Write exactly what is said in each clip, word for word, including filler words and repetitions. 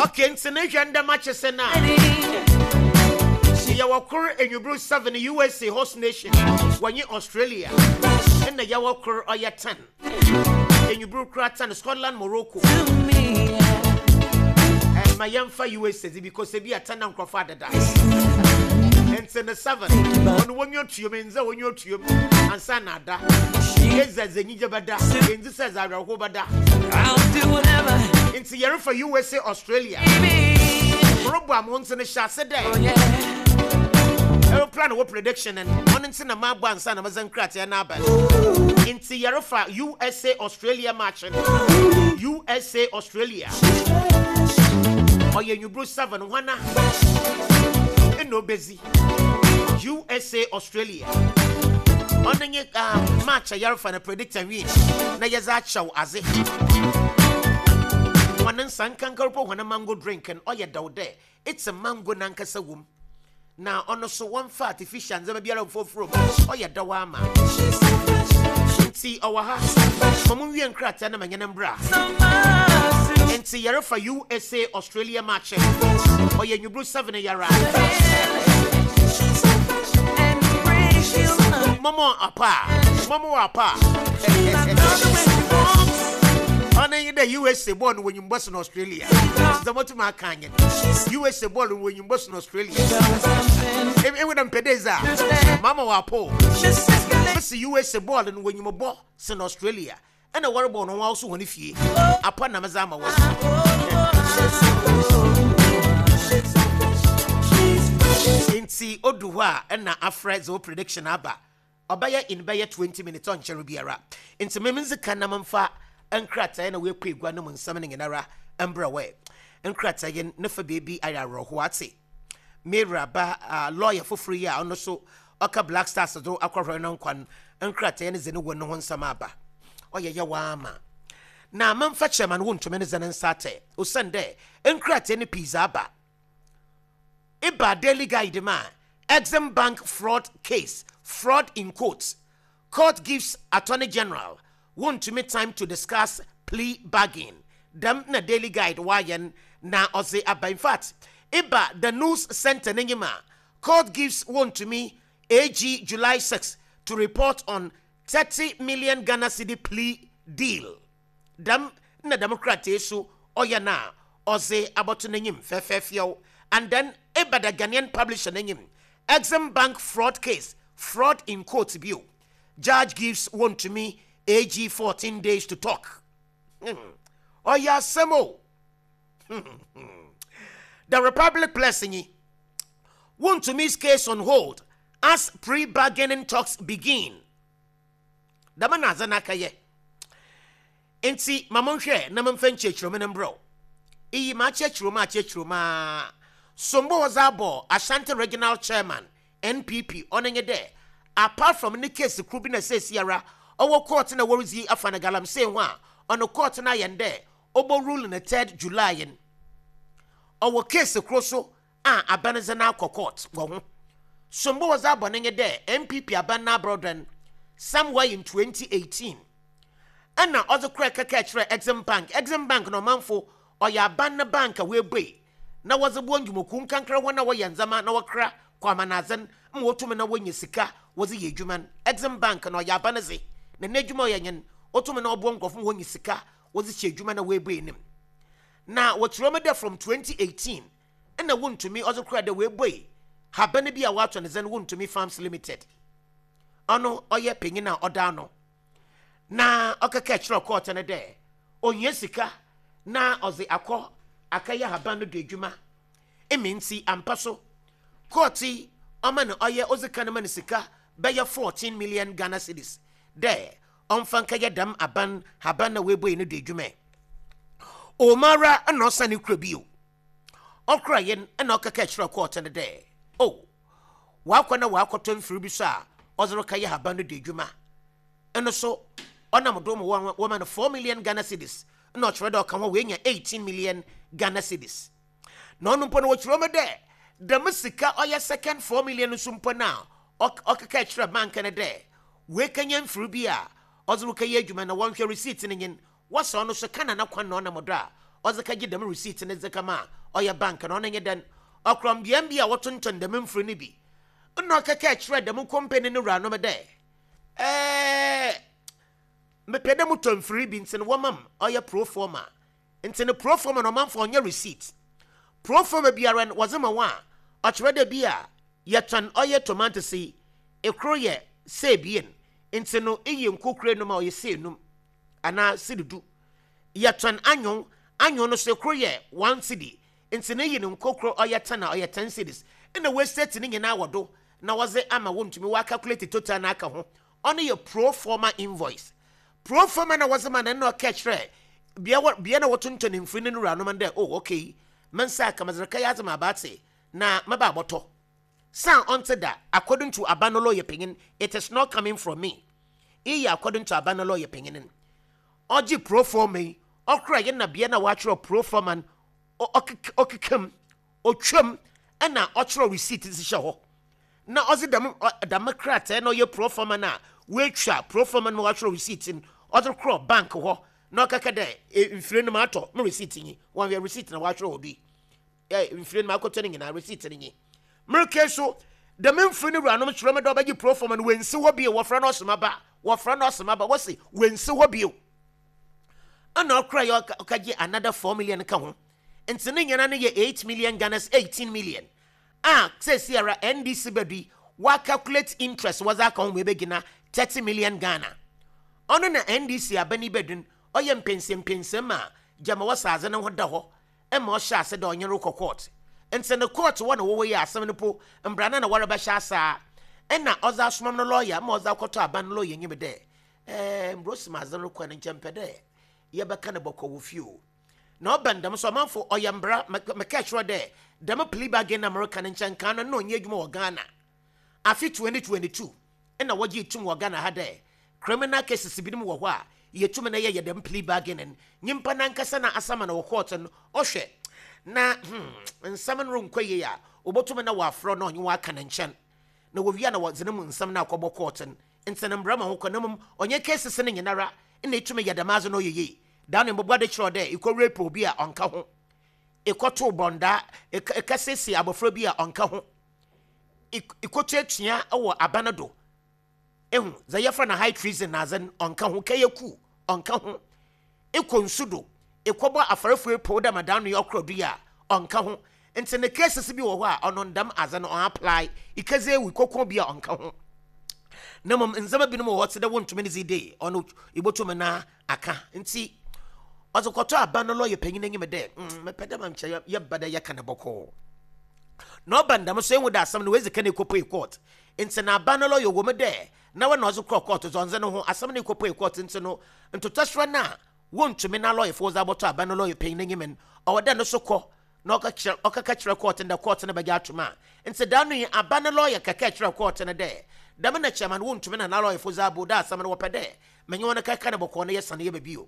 Okay, nti ne hwɛ ndɛm akye sɛ na yɛwɔ kor enwuburu seven, U S A host nation wɔnye Australia, ɛna yɛwɔ kor ɔyɛ ten enwuburu kora ten, Scotland Morocco. Ɛma yɛmfa U S A dzi because ebi a ten na nkurɔfo adeda, nti ne seven ɔno wɔnyi otuom nze wɔnyi otuom ansa na ada yɛdze dze enyigye bɛda, yɛndzi sɛ dze awerɛho bɛda. I'll do whatever. Nti yɛrefa U S A Australia morobo a mo nso no hyɛ ase dɛ Oh yeah. Aeroplane wɔ prediction no, ɔno nti na maabɔ ansa na mɛsɛ nkrataa no aba. Nti yɛrefa U S A Australia match no, U S A Australia ɔyɛ nwuburu seven, hwana ɛna obɛzi U S A Australia? Ɔno nye uh, match a yɛrefa no predict and win na yɛdze akyɛw adze. Wɔne nsa nkankarpo, wɔne mango drink no ɔyɛ dɛw dɛ it's a mango nankasa wom na ɔno so wɔmfa artificial ndzɛmba biara mfoforo mu, ɔyɛ dɛw ama. Nti ɔwɔ ha ma mo nwie nkrataa na manyɛ no mbra. Nti yɛrefa U S A Australia match, ɔyɛ nwuburu seven yara. And break you. Mɔmɔ apa a mɔmɔ apa a ɔno nye dɛ U S A bɔɔl no wɔnyim bɔ sen Australia. Sɛ mɔtum aka anyɛ U S A bɔɔl no wɔnyim bɔ sen Australia. Ewu dɛ mpɛ dɛ a mama wɔ apo mesi U S A bɔɔl no wɔnyim bɔ sen Australia, ɛna wɔrebɔ no wɔn nso wɔn fie apa na mɛdze ama wɔn. Nti odu hɔ a ɛna afrɛ dze wo prediction aba, ɔbɛyɛ in bɛyɛ twenty minutes, ɔnkyɛre biara. Nti meme nzi ka na memfa nkrataa na wɔakɔ egua no mu nsɛm no nyinara mbrɛ wɛ nkrataa yi ne fa beebi ayɛ awerɛhoɔ ate mary ba uh, lawyer foforɔ yi a ɔno so ɔka Black Stars do akɔhwɛ no nkwan nkrataa no dze ne wɔ ne ho nsɛm aba, ɔyɛ yɛ waama na memfa chairman Wontumi ne dze ne nsa atɛ osiane dɛ nkrataa no pii dze aba. Iba Daily Guide ma Exim Bank fraud case, fraud in quotes, court gives Attorney General Wontumi time to discuss plea bargain. Dɛm na Daily Guide wayɛn na ɔdze aba. In fact, iba the News Center n'enyim a, court gives Wontumi A G July six to report on thirty million Ghana cedi plea deal. Dɛm na dɛm krataa so ɔyɛ na ɔdze abɔto n'enyim fɛfɛɛfɛw. And then eba the Ghanaian Publisher n'enyim, Exim Bank fraud case, fraud in quotes bio, judge gives Wontumi A G fourteen days to talk. Hmm. Ɔyɛ asɛm o. The Republic Plus nyi Wontumi's case on hold as plea-bargaining talks begin. Dɛm na adze n'aka yɛ. Nti ma monhwɛ na momfa nkyerɛkyerɛmu no mbrɛw iyi ma akyerɛkyerɛmu akyerɛkyerɛmu a sombo wɔdze abɔ Ashanti Regional Chairman N P P. Ɔno nye dɛ apart from ne case koro bi na seesiara ɔwɔ court na wɔredzi afa no galamsey ho a ɔno court no ayɛ dɛ ɔbɔ rule no third July yin, ɔwɔ case koro so a aban dze no akɔ court wɔ ho. Sombo wɔdze abɔ no nye dɛ N P P aban no aborɔdɔn somewhere in twenty eighteen ɛna ɔdze kora kɛkɛ kyerɛ Exim Bank. Exim Bank na ɔmanfo ɔyɛ aban ne bank a woebue na wɔdze boa ndwumakuo nkankra hɔn a wɔyɛ ndzɛmba na wɔkra kɔ amanadze ma wɔtumi na wɔnya sika wɔdze yɛ adwuma no. Exim Bank na ɔyɛ aban dze na n'adwuma ɔyɛ nyen wɔtumi na ɔboa nkurɔfo ma wɔnya sika wɔdze hyɛ adwuma na woebue anim. Na wɔkyerɛ mu dɛ from twenty eighteen ɛna Wontumi ɔdze kora dɛ woebue haban bi a wɔato ne dzɛn Wontumi Farms Limited. Ɔno ɔyɛ panyin a ɔda ano na ɔkɛkɛ kyerɛ court no dɛ ohia sika na ɔdze akɔ akɛyɛ haban no do adwuma emi. Nti ampa so court yi ɔma no ɔyɛ ɔdzi kan ma no sika bɛyɛ fourteen million Ghana cedis dɛ ɔmfa nkɛyɛ dɛm aban haban na woebue no do adwuma. Ɔmara ɛna ɔsane kura bio ɔkora yɛn ɛna ɔkɛkɛ kyerɛ court no dɛ o wakɔ na wakɔtɔ mfiri bi so a ɔdze rekɛyɛ haban no do adwuma. Ɛno so ɔnam do ma wɔn wɔma no four million Ghana cedis ɛna ɔkyerɛ dɛ ɔka ho wɔanya eighteen million Ghana cedis. Na ɔno mpo no wɔkyerɛ mu dɛ dɛm sika ɔyɛ second four million nso mpo no a ɔkeka kyerɛ bank no dɛ wɔekanya mfiri bi a ɔdze rekɛyɛ adwuma na wɔnhwɛ receipt no nyin wɔsɛ ɔno so ka na n'akwan na ɔnam do a Ɔdze kɛgye dɛm receipt ne dze kama a ɔyɛ bank na ɔno nye dɛn ɔkorɔ mbea bi a wɔtontɔn dɛm mfiri no bi nna ɔkɛkɛ kyerɛ dɛm company no wuranom dɛ ɛɛ mepɛ dɛ motɔ mfiri bi, nti no wɔmam ɔyɛ proforma. Nti no proforma no, ɔmanfo, ɔnyɛ receipt. Proforma biara no wɔdze ma wɔn a ɔkyerɛ dɛ bi a yɛtɔn ɔyɛ tomatoes yi, ekoro yɛ sɛ ebien, nti no iyi nkokore no ma ɔyɛ sɛ enum anaa sidi du. Yɛtɔn anyon, anyon no so ekoro yɛ one cedi, nti no iyi no nkokoro ɔyɛ ten a ɔyɛ ten cedis. Ɛna wɔestate ne nyinaa wɔ do na wɔdze ama wɔntumi wɔacalculate total na aka ho. Ɔno yɛ proforma invoice. Proforma na wɔdze ma no na ɔka kyerɛ bea wɔ bea na wɔtontɔn mfiri no no wuranom dɛ, "Oh, okay, me nsa aka mɛdze yɛ adze ma abaate na mɛba abɔtɔ san." Ɔnte da. According to aban no lawyer panyin, it is not coming from me, iyi according to aban no lawyer panyin no, ɔgye proforma yi, ɔkora yɛ na bea na wɔatwerɛ proforma no, ɔkekam otwam ɛna ɔkyerɛ receipt hyehyɛ hɔ na ɔdze dɛm dɛm krataa na ɔyɛ proforma no a wɔatwa proforma no ma wɔatwerɛ receipt no, ɔdze korɔ bank hɔ na ɔkaka dɛ, "Mfiri no ma atɔ, me receipt nyi." Wɔn yɛ receipt na wɔatwerɛ wɔ bi ɛ mfiri no ma akɔtɔ no nyinaa, receipt no nyi. Mmereke so dɛm mfiri no wuranom kyerɛ me dɛ ɔbɛgye proforma no, wɔnsi hɔ bio. Wɔfrɛ no ɔsoma ba, wɔfrɛ no ɔsoma ba, wɔsi wɔnsi hɔ bio. Ɛna ɔkora yɛ ɔkagye another four million ka ho, nti ne nyinaa no yɛ eight million Ghana's eighteen million a sɛsi ara N D C bɛdu wa calculate interest wɔdze aka ho ma ebɛgyina thirty million Ghana. Ɔno na N D C abani bɛdun ɔyɛ mpɛnsɛmpɛnsɛm a gyama wɔsa adze ne ho da hɔ ɛma ɔhyɛ ase dɛ ɔnyere kɔ court. Nti ne court wɔ na wɔwɔ yi asɛm no po mbrana na wɔrebɛhyɛ asa, ɛna ɔdze asomam no lawyer ma ɔdze akɔtɔ aban no lawyer nyim dɛ ɛɛ mbrosim adze no kɔ ne nkyɛn pɛ dɛ yɛbɛka ne bɔkɔ wɔ fie o. Na ɔbɛn dɛm so, ɔmanfo, ɔyɛ mbra. Mɛka kyerɛ dɛ dɛm plea bargain na mɛreka ne nkyɛn kan no na ɔnyɛ adwuma wɔ Ghana. Afe twenty twenty-two ɛna wɔgye tum wɔ Ghana ha dɛ criminal cases binom wɔ hɔ a yɛtum na yɛyɛ dɛm plea bargain. Nyimpa nankasa na asama na wɔ court no ɔhwɛ na hmm, nsɛm no renkɔ yie a, obotum na wɔafrɛ na ɔnye wɔaka ne nkyɛn na wɔwia na wɔdze ne mu nsɛm no akɔbɔ court no. Nti no mbra ma ho kɔ na mmom ɔnyɛ cases no nyinara ɛna ɛtumi yɛ dɛm adze no ɔyɛ yie. Daa ne mbɔbɔ de kyerɛ dɛ ekɔ rape obi a, ɔnka ho. Ekɔto bɔndaa, ɛka siesie abɔfra bi a, ɔnka ho. Ekɔtuatua wɔ aba no do ehu dza yɛfrɛ no high treason na adze no, ɔnka ho. Kɛyɛ ku, ɔnka ho. Ekɔ nsu do ekɔbɔ afarefo epo dɛ madan no yɛ ɔkorɔ do yi a, ɔnka ho. Nti ne cases bi wɔ hɔ a ɔno ndam adze no ɔn apply. Ikɛdze ewu kɔkɔ bi a, ɔnka ho. Na mmom ndzɛmba binom wɔ hɔ te dɛ wontumi ne dze de ɔno ibotum na aka. Nti ɔdze kɔtɔ aba no lawyer panyin anim dɛ mm mepɛ dɛ ma nkyɛ yɛba dɛ yɛka ne bɔkɔɔ. Na ɔba ndam so ehu dɛ asɛm no wezi ka ne ekɔpue court. Nti na aba no lawyer wɔ mu dɛ na wɔn na ɔdze kɔɔ court dze ɔndze ne ho asɛm no ekɔpue court. Nti no ntotɔsoro no a wontumi na lɔyɛfoɔ dze abɔtɔ aba no lawyer panyin anim no, ɔwɔ dɛ no so kɔ na ɔka ɔkaka kyerɛ court no dɛ court no bɛgye atom a. Nti da no yi aba no lawyer kɛkɛ kyerɛ court no dɛ dɛm na chairman wontumi na n'alɔyɛfoɔ dze abo dɛ asɛm no wɔpɛ dɛ menye wɔn kɛkɛ ne bɔkɔɔ no yɛ sane yɛ baabi o.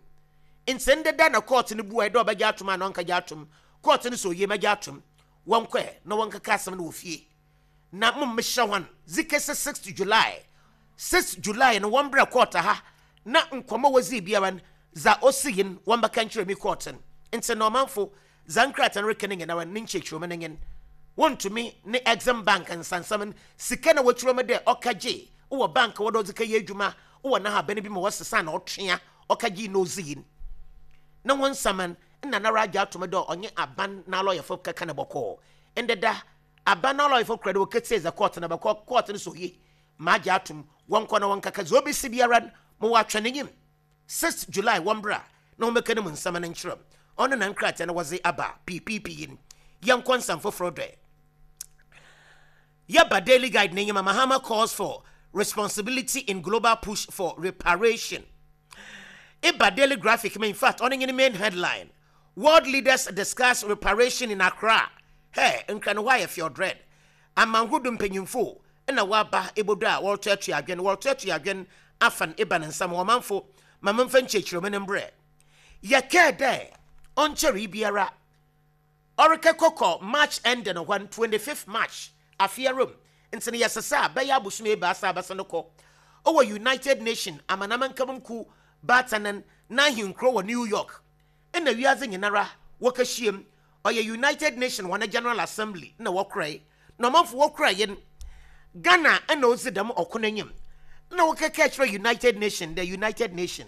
Nti ndeda na court no bua dɛ ɔbɛgye atom a na ɔnkagye atom. Court no sɛ oye, mɛgye atom, wɔnkɔɛ na wɔnkeka asɛm no wɔ fie na mo mmehyɛ hɔn zikese six July. six July no wɔn brɛ court ha na nkɔmɔ wɔdzi biara no dza osi yin wɔn bɛka nkyerɛ mi court no. Nti na ɔmanfo, dza nkrataa no reka no nyinara ne nkyerɛkyerɛmu no nyen wɔntumi ne Exim Bank nsansam no sika na wɔkyerɛ mu dɛ ɔka gye wɔ bank wɔdɔ ɔdze kɛyɛ adwuma wɔ n'ahaban bi ma wɔsesa na ɔtwea ɔka gye na ɔdzi yin na wɔn nsaman nna nara agye atom dɛ ɔnye aban n'alɔyɛfo kɛkɛ ne bɔkɔɔ. Ndeda aban n'alɔyɛfo kura dɛ wɔkɛtie dza court no bɛkɔ. Court no so oye, ma agye atom, wɔnkɔ na wɔnkaka dza obesi biara no ma wɔatwɛ n'enyim six July wɔn bra na wɔbɛka ne mu nsɛm no nkyerɛ. Ɔno na nkrataa no wɔdze aba piipiipi yi no. Yɛnkɔ nsɛm foforɔ dɛ yɛba Daily Guide n'enyim. Mahama calls for responsibility in global push for reparation. Iba Daily Graphic, in fact, ɔno nye ne main headline: "World leaders discuss reparation in Accra." Hey, nkra no hɔ ayɛ field red. Amanhodo mpanyimfo ɛna waba ebodo a wɔretoatoa adwen, wɔretoatoa adwen afa no eba ne nsam. Ɔmanfo, ma memfa nkyerɛkyerɛmu no mbrɛ yɛkɛɛ dɛ ɔnkyɛre biara ɔrekɛkɔkɔ March end no hɔ twenty-fifth March afearom. Nti no yɛsesa a bɛyɛ abosom ebaasa abɛsa no kɔ ɔwɔ United Nation amanaman nkabom ku baatanan n'ahenkuro wɔ New York, ɛna wiadze nyinara Wɔkɛhyia mu, ɔyɛ United Nation wɔn General Assembly na wɔkorae, na ɔmanfo wɔkoraeɛ no, Ghana ɛna ɔdzi dɛm ɔko n'anim na wɔkɛkɛ kyerɛ United Nation, the United Nation,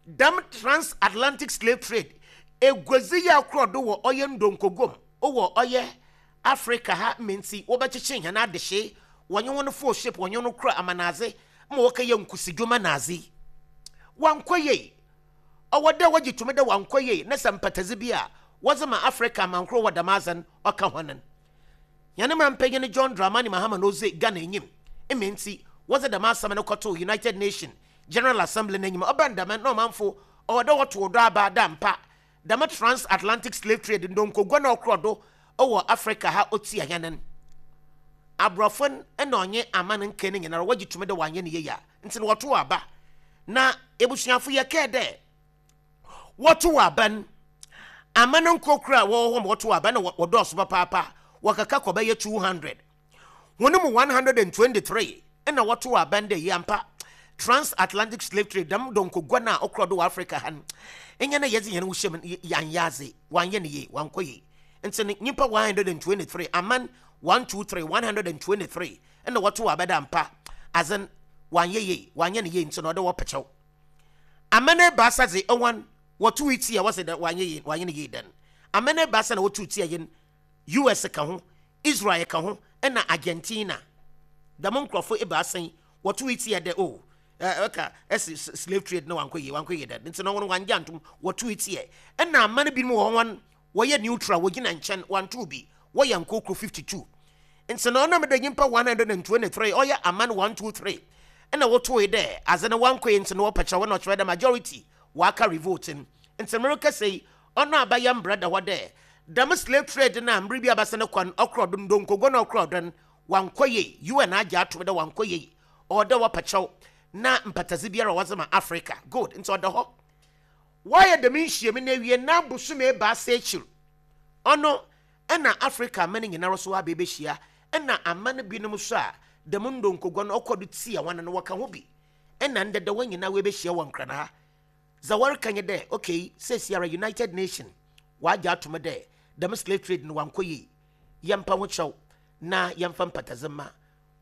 dɛm transatlantic slave trade eguadzi yi akorɔ do wɔ ɔyɛ ndonkogom wɔ ɔyɛ Africa ha menti wɔbɛkyekye hɛn adehye, wɔnye wɔn fo ship, wɔnye wɔn kura amanadze ma wɔkɛyɛ nkusidwuma naadze. Wankɔ yie. Ɔwɔ dɛ wɔgye tumi dɛ wankɔ yie, na sɛ mpatadze bi a wɔdze ma Africa amankoro wɔ dɛm adze no ɔka hɔn no. Yɛne ma mpanyin John Dramani Mahama na ɔdzi Ghana enyim mme nti wɔdze dɛm asɛm no kɔtoo United Nation General Assembly n'enyim. Ɔbɛn dɛm na ɔmanfo ɔwɔ dɛ wɔto dɔ aba da mpa dɛm transatlantic slave trade ndonkogua na ɔkorɔ do ɔwɔ Africa ha otia hɛn no. Aborɔfo no ɛna ɔnye aman nkan no nyinara wɔgye tumi dɛ wɔanyɛ ne yie a, nti no wɔto aba. Na ebusuafo, yɛkɛɛ dɛ wɔto aba no, aman nkokora a wɔwɔ hɔ ma wɔto aba na wɔdɔɔso papaapa, wɔkaka kɔ bɛyɛ two hundred. Wɔn mu one hundred and twenty-three ɛna wɔto aba no dɛ yampa transatlantic slave trade, dɛm dɔnkogua no a ɔkorɔ do wɔ Africa ha no, ɛnyɛ na yɛdze yɛn ho hyɛ mu yɛanyɛ adze, wanyɛ ne yie, wankɔ yie. Nti no nyimpa one hundred and twenty-three, aman one two three, one hundred and twenty-three ɛna wɔto aba dɛ ampa adze wanyɛ yie, wanyɛ ne yie, nti na ɔde wɔpɛkyɛw. Aman ebaasa dze ɛwan wɔto ti a wɔsɛ dɛ wanyɛ yie, wanyɛ ne yie. Dɛn aman ebaasa na wɔto ti a yɛn U S ka ho, Israel ka ho, ɛna Argentina. Dɛm nkurɔfo ebaasa yi wɔto ti a dɛ o ɛka ɛsi slave trade na wankɔ yie, wankɔ yie dɛ, nti na wɔn wangye antom, wɔto ti yɛ. Ɛna aman binom wɔ wɔn wɔyɛ neutral, wɔgyina nkyɛn, wanto bi, wɔyɛ nkokoro fifty-two. Nti na ɔnam dɛ nyimpa one hundred and twenty-three ɔyɛ aman one two three ɛna wɔto yi dɛ adze no wankɔ yie, nti na wɔpɛkyɛ wɔn na ɔkyerɛ dɛ majority waka revolt no. Nti mmerɛ yi ɔno abayɛ mbra da hɔ dɛ dɛm slave trade na mmere bi abasa ne kwan ɔkorɔ do, ndonkogo na ɔkorɔ do no wankɔ yie. U N agye atom dɛ wankɔ yie, ɔwɔ dɛ wɔpɛkyɛw na mpatadze biara a wɔdze ma Africa. Good. Nti ɔda hɔ wɔayɛ dɛm nhyiam no awie na bosome ebaasa akyir ɔno ɛna Africa aman nyinara so aba ebɛhyia, ɛna aman binom so a dɛm ndonkogo no ɔkɔ do tia wɔn no wɔka ho bi, ɛna ndɛdɛ wɔn nyinaa wɔbɛhyia wɔ Nkran ha. Dza wɔreka nye dɛ okay, seesiara United Nation wɔagye atom dɛ dɛm slave trade no wankɔ yie, yɛmpa ho kyɛw na yɛmfa mpatadze ma.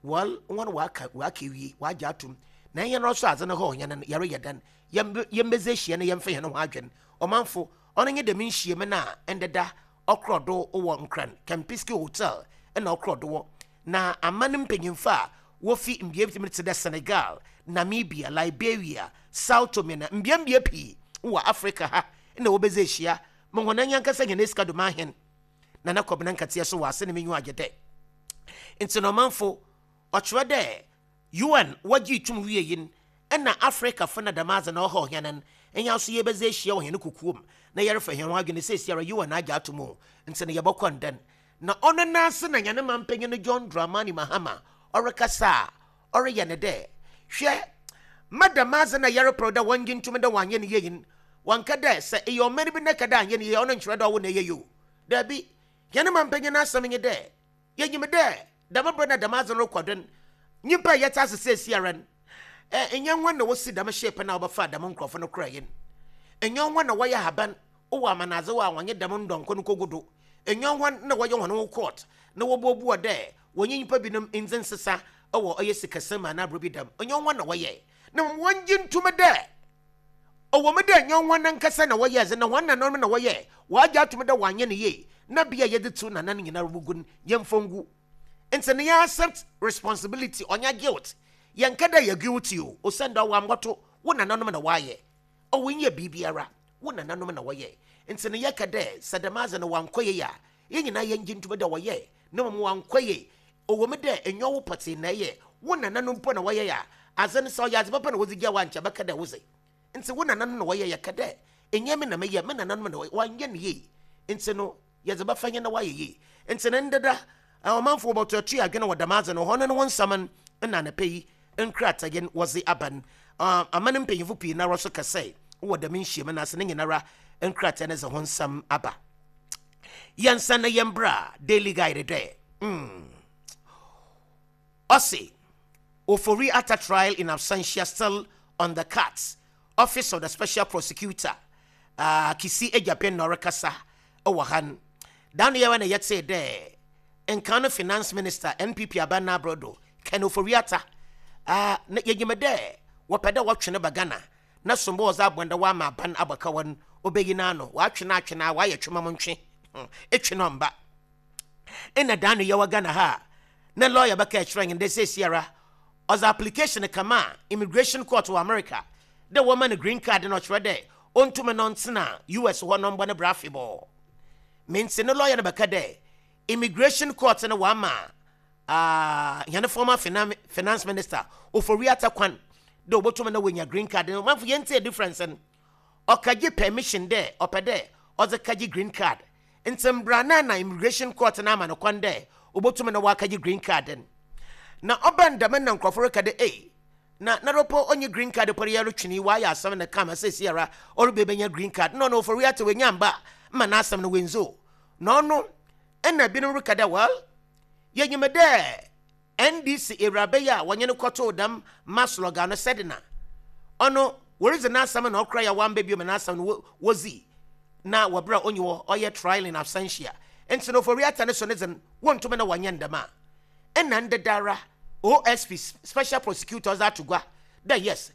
Well, wɔn waka waka ewie, wɔagye atom na ɛnyɛ no nso adze no hɔ ɔnyɛ no yɛreyɛ dɛn yɛmbɛdze ahyia no, yɛmfa yɛn ho adwene. Ɔmanfo, ɔno nye dɛm nhyiam no a ɛndeda ɔkorɔ do wɔ Nkran Kempinski Hotel ɛna ɔkorɔ do wɔ, na aman mpanyimfo a wofi mbea bi te dɛ Senegal, Namibia, Liberia, Sao Tome na mbeambea pii wɔ Africa ha na wɔbɛdze ahyia ma wɔn anyankasa hɛn esika do ahen na na kɔbena nkateɛ so wɔ ase ne menyu agye dɛ. Nti na ɔmanfo ɔkyerɛ dɛ U N wɔgye tum wie yi ɛna Africa fo na dɛm adze na ɔha ɔhɛn no ɛnya nso yɛbɛdze ahyia wɔ hɛn kukuom na yɛrefa hɛn ho adwene sɛ esiara U N agye ato mu, nti no yɛbɔkɔ ndɛn na ɔno n'ase. Na nyane ma mpanyin no John Dramani Mahama ɔrekasa a ɔreyɛ ne dɛ hwɛ madam adze na yɛreprɛw dɛ wɔngye ntom dɛ wɔanyɛ ne yie. Wɔnka dɛ sɛ ɛyɛ ɔman bi na ka dɛ anyɛ ne yie, ɔno nkyerɛ dɛ ɔwo na ɛyɛ yie o. Daabi, yɛne ma mpanyin no asɛm nye dɛ yɛnyim dɛ dɛm berɛ na dɛm adze no rekɔ do no, nyimpa a yɛte ase seesiara no, ɛ ɛnyɛ hɔn na wɔsi dɛm ship na wɔbɛfa dɛm nkurɔfo no kora yɛn, ɛnyɛ hɔn na wɔyɛ haban wɔ amanadze wɔ a wɔnyɛ dɛm ndɔnko no kogu do, ɛnyɛ hɔn na wɔyɛ hɔn ho court na wɔbuobua dɛ wɔnyɛ nyimpa binom ndze nsesa wɔ ɔyɛ sikasɛm anaa aburo bi dɛm, ɛnyɛ hɔn na wɔyɛ. Na wɔngye ntom dɛ ɔwɔ mu dɛ ɛnyɛ hɔn nankasa na wɔyɛ ɛdze na hɔn nananom na wɔyɛ, wɔagye atom dɛ wɔanyɛ no yie na bea yɛde tew nanan nyinaa gugu no yɛmfa ngu. Nti ne yɛ accept responsibility, ɔnyɛ guilt. Yɛnka dɛ yɛ guilty o, osiane dɛ ɔwɔ ambɔto wo nananom na wɔayɛ, ɔwɔ nyɛ biribiara, wo nananom na wɔyɛ. Nti ne yɛka dɛ sɛ dɛm adze no wankɔ yie a, yɛn nyinaa yɛngye ntom dɛ wɔyɛ, na mmom wankɔ yie. Ɔwɔ mu dɛ ɛnyɛ wo pɔtee na ɛyɛ, wo nananom mpo na wɔyɛ a, adze no sɛ ɔyɛ adze papa na wɔdze gya wa nkyɛ bɛka dɛ wodze. Nti wo nananom na wɔyɛ, yɛka dɛ ɛnyɛ me na meyɛ, me nananom na wɔyɛ, wanyɛ no yie, nti no yɛdze bɛfa nyɛ na wayɛ yie. Nti ne ndeda ɔmanfoɔ bɔtɔ atu adwene wɔ dɛm adze no hɔ no ne ho nsɛm no na anapa yi nkrataa wɔdze aba no. Aman mpanyinfo pii nara so kɛsɛ wɔ dɛm nhyiam no ase ne nyinara nkrataa no dze ho nsɛm aba. Yɛnsa na yɛmbra Daily Guide dɛ mm. Ɔse Ofori Atta trial in absentia still on the cards. Office of the Special Prosecutor uh, Kissi Agyebeng na ɔrekasa ɛwɔ ha no. Da no yɛwɔ na yɛtee dɛ nkan no Finance Minister, N P P aban n'aborɔdo, Ken Ofori-Atta, uh, na yɛnyim dɛ wɔpɛ dɛ wɔtwe no ba Ghana na sombo wɔdze abɔn dɛ wɔama aban abɔka wɔn obɛyi n'ano wɔatwe no atwe no a wɔayɛ twema mo ntwe etwe no mba. Ɛna da no yɛwɔ Ghana ha a na lawyer bɛka ɛkyerɛ yɛn dɛ seesiara ɔdze application kama a immigration court wɔ America dɛ wɔma no green card, na ɔkyerɛ dɛ ɔntumi no ntena U S hɔ no mbɔ ne bra afebɔɔ. Mente ne lawyer no bɛka dɛ immigration court no wama uh, yɛne former finance minister Ofori-Atta kwan dɛ obɔtumi na wɔnya green card no. Manfo, yɛntie difference no. Ɔkagye permission dɛ ɔpɛ dɛ ɔdze kagye green card, nti mbra na na immigration court no ama no kwan dɛ obɔtumi na wakagye green card no. Na ɔbɛn dɛm na nkurɔfo reka dɛ, ei, na naropɔ ɔnye green card pɔre yɛro twene wayɛ asɛm no kama sɛ siara ɔrebe bɛnya green card na ɔno Ofori-Atta wɔnya mba ma n'asɛm no wenzo na ɔno. Ɛna binom reka dɛ, well, yɛnyim dɛ N D C awuraba yi a wɔnye no kɔtoo dɛm MASLOC no, Sedina, ɔno wɔredzi n'asɛm na ɔkora yɛ wamba bio ma n'asɛm no wɔdzi na wɔberɛ a ɔnyi hɔ, ɔyɛ trial in absentia. Nti no Ofori-Atta ne so ne dze wɔntumi na wɔnyɛ ndɛm a. Ɛna ndedara O S P, special prosecutor, ɔdze ato gua dɛ yes,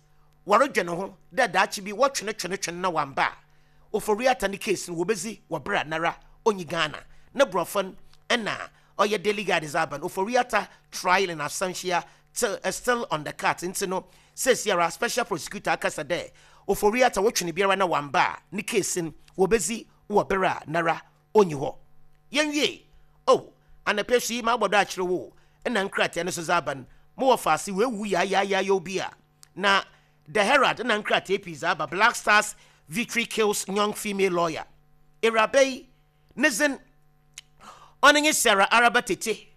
wɔredwe ne ho dɛ daakye bi wɔtwene twene twene na wamba a, Ofori-Atta ne case no wɔbɛzi wɔ berɛ a nara ɔnyi Ghana. Ne borɔfo no ɛna ɔyɛ Daily Guide dze aba no. Ofori-Atta trial in absentia till, uh, still on the card. Nti no seesiara special prosecutor akasa dɛ Ofori-Atta wɔtwene biara na wamba a, ne case no wɔbɛzi wɔ berɛ a nara ɔnyi hɔ. Yɛnwie oh, anapɛ so yi ma abɔdɔ akyerɛ wo. Ɛna nkrataa no so dze aba no mowɔ faase weewu yaayaayaayaw bi a na The Herald na nkrataa pii dze aba. Black Stars victory kills young female lawyer. Ewuraba yi ne dzin ɔno nye Sarah Araba Tete.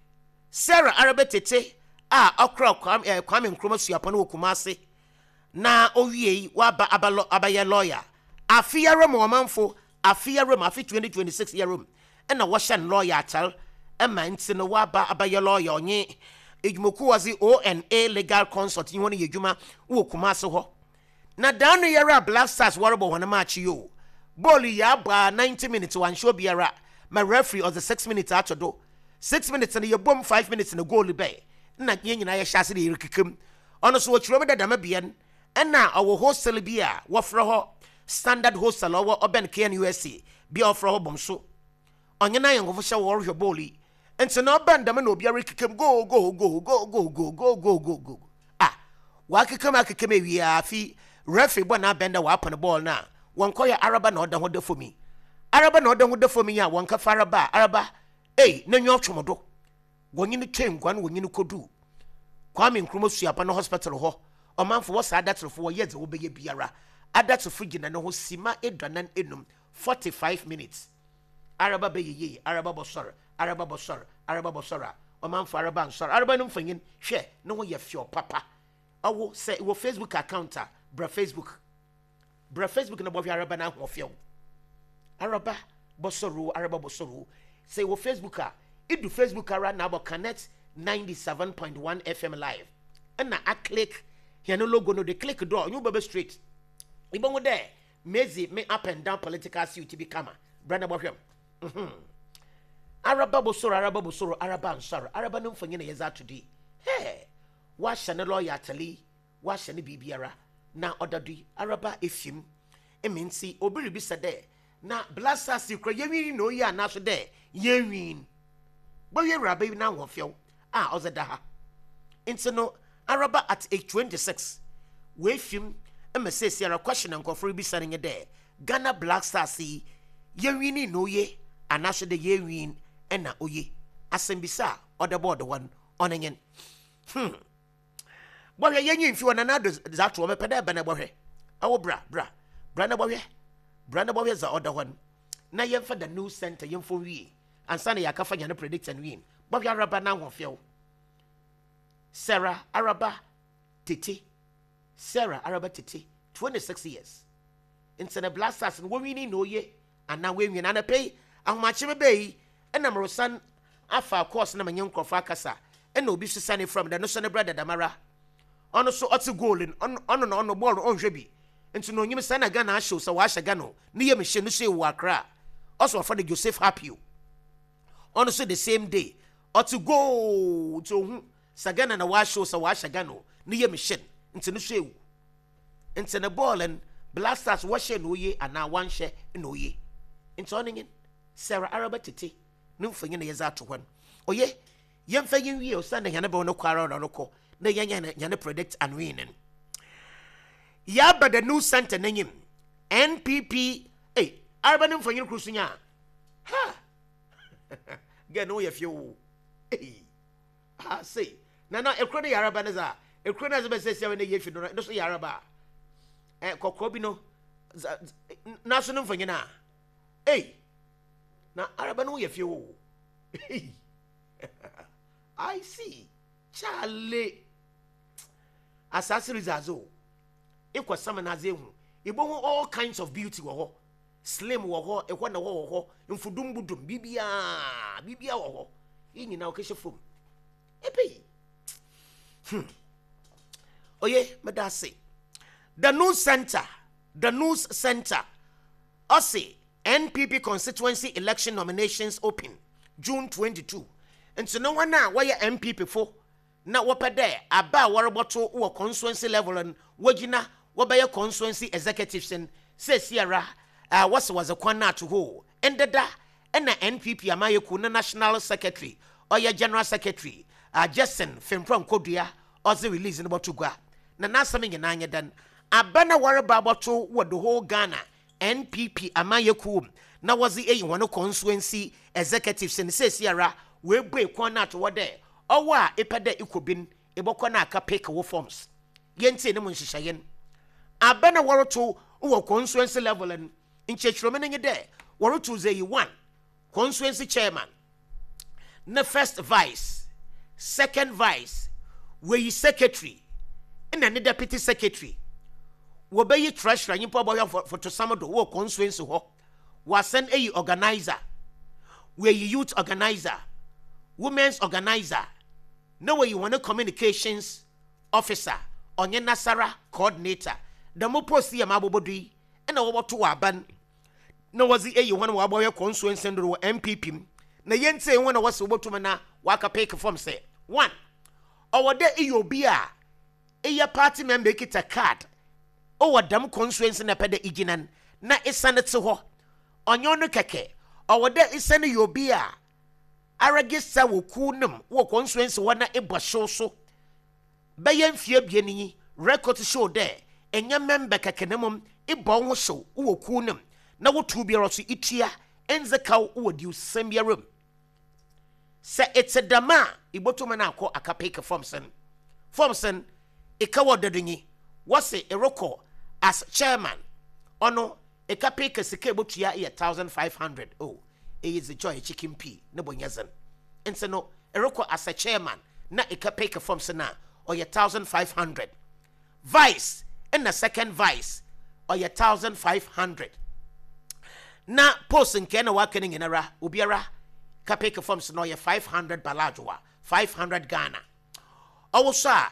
Sarah Araba Tete a ɔkora Kwame, eh, Kwame Nkrumah Suapɔn wɔ Kumase na owie yi waba aba abayɛ lawyer. Afe yɛrɛ mu, ɔmanfo, afe yɛrɛ mu, afe twenty twenty-six yɛrɛ mu ɛna wɔhyɛ no lawyer akyɛr ɛma nti no waba abayɛ lawyer. Ɔnye edwumakuo wɔdze O N A Legal Consult yi wɔn yɛ adwuma wɔ Kumase hɔ. Na dan no yɛrɛ a Black Stars wɔrebɔ wɔn match yi o, bɔɔlu yi abɔ a ninety minutes wanhyɛ obiara ma referee ɔdze six minutes ato do. Six minutes no yɛbom five minutes na goal bɛɛ na yɛn nyinaa yɛhyɛ ase de yɛrekeka. Ɔno so wɔkyerɛ mu dɛ dɛm bea no ɛna ɔwɔ hostel bi a wɔfrɛ hɔ Standard Hostel, ɔwɔ ɔbɛn K N U S T bi a wɔfrɛ hɔ bɔm so. Ɔnye n'ayɛnkofo hyɛ wɔrehwɛ bɔɔlu yi. Nti na ɔbɛn dɛm na obiara rekeka mu go go go go go go go go go go a wakeka mu akeka mu awie a, afi referee bɔ n'abɛn dɛ wapɔn bɔɔl no a wɔnkɔyɛ araba na ɔda ho da fam yi, araba na ɔda ho da fam yi a wɔnkafa araba a araba ei n'enyi ɔtwom do. Wɔnye no twɛn nguan, wɔnye no kodu Kwame Nkrumah Suapa no hospital hɔ. Ɔmanfo, wɔ saa adaterefo wɔyɛ dze wɔbɛyɛ biara, adaterefo gyina ne ho sima aduanan enum, forty five minutes. Araba bɛyɛ yie, araba bɔsɔre, araba bɔsɔre, araba bɔsɔre a, ɔmanfo, araba nsɔre. Araba no mfanyin hwɛ ne ho yɛ fɛw papa. Ɔwo sɛ wɔ Facebook account a, bra Facebook, bra Facebook na bɔhwɛ araba no ahoɔfɛw. Araba bɔsɔre o, araba bɔsɔre o. Sɛ wɔ Facebook a, idu Facebook ara na abɔ Connect ninety-seven point one F M live ɛna a click yɛn logo no de click do a, ɔnye wo bɛbɛ straight. Ibɛhu dɛ mezi me up and down political suit bi kama. Bra na bɔhwɛ m. Mhm. Araba bosoro, araba bosoro, araba nsɔre. Araba no mfonyin na yɛdze ato do yi. Hɛ, wahyɛ ne lawyer atale, wahyɛ ne biribiara na ɔda do yi. Araba efim emi nti obi rebisa dɛ na Black Stars kura yɛnwin na oyi anaso dɛ yɛnwin. Bɔhwɛ awuraba yi n'ahoɔfɛw a ɔdze da ha. Nti no araba at age twenty-six woefim ma seesiara question na nkurɔfoɔ rebisa no nye dɛ Ghana Black Stars yi yɛnwin na oye anaso dɛ yɛnwin ɛna oye. Asɛmbisa a ɔda bɔɔdo hɔ no ɔno nye hmm bɔhwɛ yɛnyi mfi hɔ. Nana Ado dze ato hɔ, mepɛ dɛ ɛbɛ na bɔhwɛ. Ɛwɔ bra, bra, bra na bɔhwɛ, bra na bɔhwɛ dza ɔda hɔ no na yɛmfa the news center yɛmfa wie ansa na yɛakafa nyane predict and win. Bɔhwɛ araba na ahoɔfɛw. Sarah Araba Tete, Sarah Araba Tete, twenty-six years. Nti na Black Stars no wɔwini na oye anaa wɔnwini? Anapɛ yi ahomakye me bɛyi yi ɛna meresan afa course na menye nkurɔfoɔ akasa ɛna obi so sane from dɛ no so ne brɛ dadamara. Ɔno so ɔte goal no, ɔno ɔno na ɔno bɔɔl no ɔnhwɛ bi. Nti na onyim sɛ na Ghana ahyɛw sɛ wɔahyɛ Ghana o, ne yam hyɛ no so ewu Accra. Ɔsɛ wɔfrɛ no Joseph Happy o. Ɔno so the same day ɔte goal, nti ohu sɛ Ghana na wɔahyɛw sɛ wɔahyɛ Ghana o, ne yam hyɛ no, nti no so ewu. Nti ne bɔɔl no, Black Stars wɔhyɛ na oye anaa wɔnhyɛ na oye. Nti ɔno nye Sarah Araba Tete ne mfonyin na yɛdze ato hɔ no. Oye, yɛmfa yɛn wie osiane hɛn bɛn no kɔ ara na ɔno kɔ na yɛnyɛ hɛn predict and win no. Yɛaba the news center n'enyim. N P P, ei, Araba ne mfonyin koro so nya ha gɛ ne woyɛ fie o. Ei, ha sei na na ekuro no yɛ Araba ne dza ekuro no a ɛdze bɛsɛ sia ne yɛ fi no no so yɛ Araba a ɛ kɔkɔɔ bi no n'aso no mfonyin a, ei, na Araba no woyɛ fie o. Ei, I see. Charlie, asase rizadze o, ekɔ sama n'adze ehu ibohu all kinds of beauty wɔ hɔ. Slim wɔ hɔ, ɛhɔ na hɔ wɔ hɔ, mfudum budum, biribiara biribiara wɔ hɔ. Yi nyinaa ɔkɛhyɛ fam ebe yi. hmm oye meda ase. The news center, the news center ɔse N P P constituency election nominations open June twenty-two. Nti no wɔn a wɔyɛ N P P fo na wɔpɛ dɛ aba a wɔrebɔto wɔ constituency level no, wɔgyina wɔbɛyɛ constituency executives no sɛsiara a wɔsɛ wɔdze kwan no ato hɔ ndeda. Ɛna N P P amayɛku ne national secretary, ɔyɛ general secretary uh, Justin Frimpong Kodua, ɔdze release no bɔto gua. Na n'asɛm nyinaa nyɛ dan aba na wɔreba abɔto wɔ the whole Ghana N P P amayɛku na wɔdze eyi wɔn constituency executives no, sɛsiara wɔebue kwan no ato hɔ dɛ ɔwɔ a epɛ dɛ ikɔ bi no, ebɔkɔ no aka pick wo forms. Yɛntie ne mu nhyehyɛeɛ no. Aba na wɔreto wɔ constituency level no, nkyerɛkyerɛmu no nye dɛ wɔreto dze yi one constituency chairman ne first vice, second vice, wɔyi secretary ɛna ne deputy secretary, wɔbɛyi treasurer, nyimpa ɔbɔhwɛ fotosam do wɔ constituency hɔ, wɔasan ayi organizer, wɔayi youth organizer, women's organizer, na wɔyi wɔn communications officer, ɔnyɛ nasara coordinator. Dɛm post yɛ ma abobɔdo yi ɛna wɔbɔto wɔ aban na wɔdze ayi wɔn a wɔabɔhwɛ constituency do wɔ N P P mu. Na yɛntie wɔn a wɔsɛ wɔbɛtum na wɔaka pick form sɛ one, ɔwɔ dɛ eyɛ obi a eyɛ party member, ekita card ɔwɔ dɛm constituency na ɛpɛ dɛ egyina no na esane te hɔ. Ɔnyɛ ɔno kɛkɛ, ɔwɔ dɛ esane yɛ obi a aregister wɔ kuw no mu wɔ constituency hɔ na ebɔ hyew so bɛyɛ mfie abien yi, record show dɛ ɛnyɛ member kɛkɛ na mmom ebɔ wo ho hyew wɔ kuw no mu na wotu biara so itua ndze kaw wɔ diwsɛm biara mu. Sɛ ete dɛm a, ibotum no akɔ aka pick forms no. Forms no eka wɔ dɔdonyi wɔse erekɔ as chairman, ɔno eka pick sika ebotua yɛ thousand five hundred. Oh, eyi dze joy chicken pea ne bɔ nyɛ dzen. Nti no erekɔ as a chairman na eka pick forms no a, ɔyɛ thousand five hundred. Vice ɛna second vice ɔyɛ thousand five hundred, na post nkɛɛ na waka no nyinara obiara ka pick forms no ɔyɛ five hundred baladwoa, five hundred Ghana. Ɔwɔ so a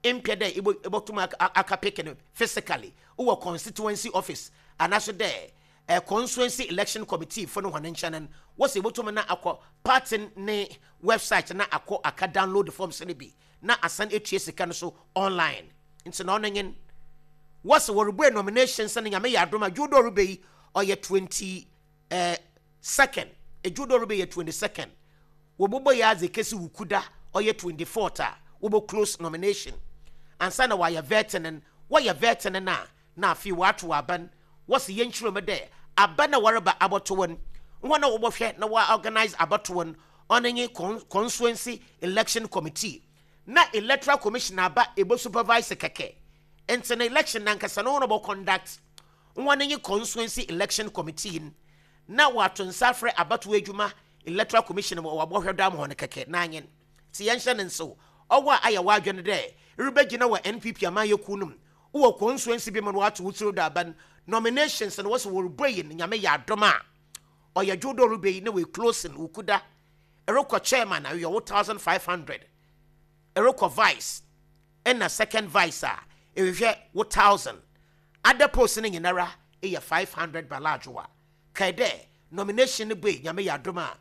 mpɛ dɛ ibɔtum aka pick no physically wowɔ constituency office anaso dɛ eh, constituency election committee fo no hɔn nkyɛn no, wɔsɛ ibɔtum na akɔ party ne website na akɔ aka download forms no bi na asan etua sika no so online. Nti na ɔno nye wɔsɛ wɔrebue nominations no. Nyame yɛ adom a, dwoodɔ ɔreba yi ɔyɛ twenty eh, second, edwoodɔ ɔreba yɛ twenty second, wɔbobɔ yɛ adze kesi wukuda ɔyɛ twenty fourth a wɔbɔ close nomination ansa na wɔayɛ vetting no. Wɔyɛ vetting no a, na afei wɔato aban. Wɔsi yɛn kyerɛ mu dɛ aba na wɔreba abɔto wɔn, wɔn a wɔbɔhwɛ na wɔ organize abɔto wɔn, ɔno nye constituency election committee na electoral commission aba ebo supervise kɛkɛ. Nti na election nankasa no wɔn bɔ conduct, wɔn nye constituency election committee na wɔato nsa afrɛ abatoɔ adwuma electoral commission wɔ wɔabɔhwɛ dam hɔ no kɛkɛ n'anyen. Ti yɛn hyɛ ne nsew, ɔwɔ a ayɛ wadwene dɛ rebɛgyina wɔ N P P amanyɛkuo no mu wɔ constituency bi mu no, wɔato wo tiri do aban nominations no, wɔsɛ wɔrebɔ yi no. Nyame yɛ adom a, ɔyɛ dwoodɔ rebɛ yi na wɔ closing wukuda. Ɛrekɔ chairman a yɛ wo thousand five hundred, ɛrekɔ vice ɛna second vice a ɛhwehwɛ wo thousand. Other post no nyinara ɛyɛ five hundred baladwoa. Kae dɛ nomination no bue, Nyame yɛ adom a,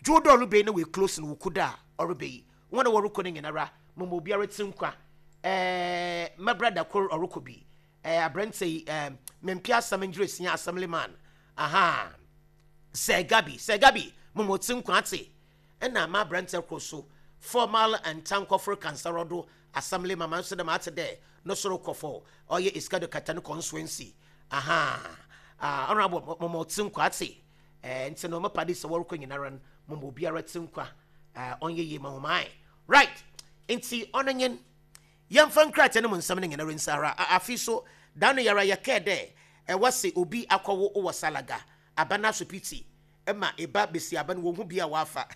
dwoodɔ ɔrebɛyi na wei close no Wukuda a ɔrebɛyi. Wɔn a wɔrekɔ no nyinara, mama obiara ti nkwa. ɛɛ my brother kor ɔrekɔ bi, ɛɛ aberante yi, ɛɛ mempia asɛm ngyere sia assemblyman aha, Sɛ Gabi, Sɛ Gabi, mama ɔti nkwa ate. Ɛna ma aberante koro so, formal Ntankɔforo Kansarɔdo assembly mama nso dɛm ate dɛ no soro kɔfɔ ɔyɛ Essikado Ketan constituency aha. Ah, honorable, mama ɔti nkwa ate. ɛɛ nti no mapa de sɛ wɔrekɔ nyinara no, mama obiara ti nkwa. ɛɛ ɔnyɛ yie ma wɔn ayɛ right. Nti ɔno nyen yɛmfa nkrataa no mu nsɛm no nyinara nsara. Afi so da no yɛra yɛkɛɛ dɛ ɛwɔ sɛ obi akɔwo wɔ Salaga aba no asopiti ma ɛba bɛsi aba no wɔn ho bi a wafa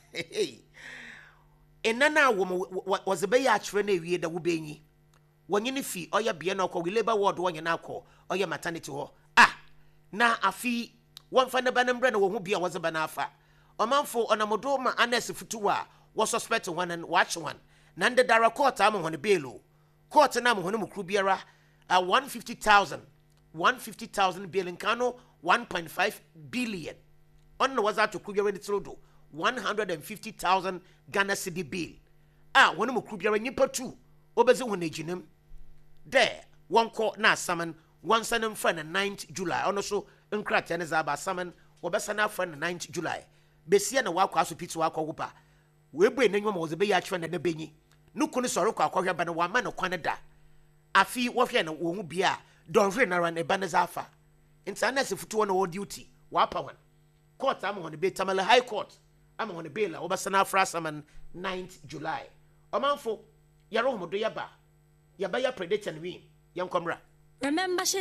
ɛna no a wɔm wɔdze bɛyɛ akyerɛ no awie dɛ wobɛnyi wɔnye no fi ɔyɛ bea no ɔkɔ labour ward, wɔnyɛ no akɔ ɔyɛ maternity hɔ a na afi wɔmfa ne ba no mbrɛ no wɔn ho bi a wɔdze ba no afa. Ɔmanfo ɔnam ma anɛs futu a wɔsuspect wɔn no wɔakye wɔn na ndedara court ama wɔn bail o. Court no ama wɔn mu kuru biara a one fifty thousand, one fifty thousand bail nka no one point five billion. Ɔno na wɔdze ato kuru biara ne tiri do, one hundred and fifty thousand Ghana cedi bail a wɔn mu kuru biara nyimpa tu wɔbɛdzi wɔn agyinam dɛ wɔnkɔ na asaman wɔnsa no mfrɛ no ninth July. Ɔno so nkrataa no dze aba asaman wɔbɛsa no afrɛ no ninth July. Besia na wakɔ asopiti wakɔ wo ba weebue n'enyiwa ma wɔdze bɛyɛ akyerɛ na ne bɛnyi ne kunu sɔre kɔ akɔhwɛ ba no, wama no kwan da. Afi wɔhwɛ no wɔn ho bia a dɔnhwere nara ne ba ne dze afa. Nti anɛsɛ futuo na wɔ duty wapa wɔn court ama wɔn bail, Tamale High Court ama wɔn bail a wɔbɛsa no afra asaman ninth July. Ɔmanfo yɛrɛ wɔn do yɛba yɛbɛyɛ predict and win. Yɛn kɔmra. Remember.